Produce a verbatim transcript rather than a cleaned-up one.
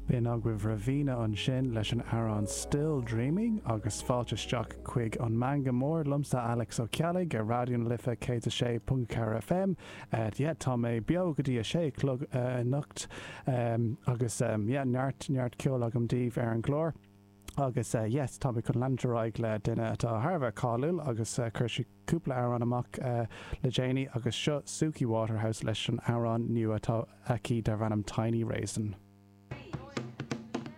B'in agaibh Raveena ansin leis an amhrán Still Dreaming agus fáilte isteach chuig an Meangadh Mór liomsa Alex Ó Ceallaigh ar Raidió na Life céad a sé ponc ceathair FM. Yeah, tá mé beo go dtí a sé chlog anocht agus yeah, neart neart ceoil agam daoibh ar an gclár. Agus yes, tá mé chun leanúint ar aghaidh le duine atá thar a bheith cáiliúil agus chuir sí cúpla amhrán amach le déanaí agus seo Suki Waterhouse leis an amhrán nua atá aici darb ainm Tiny Raisin.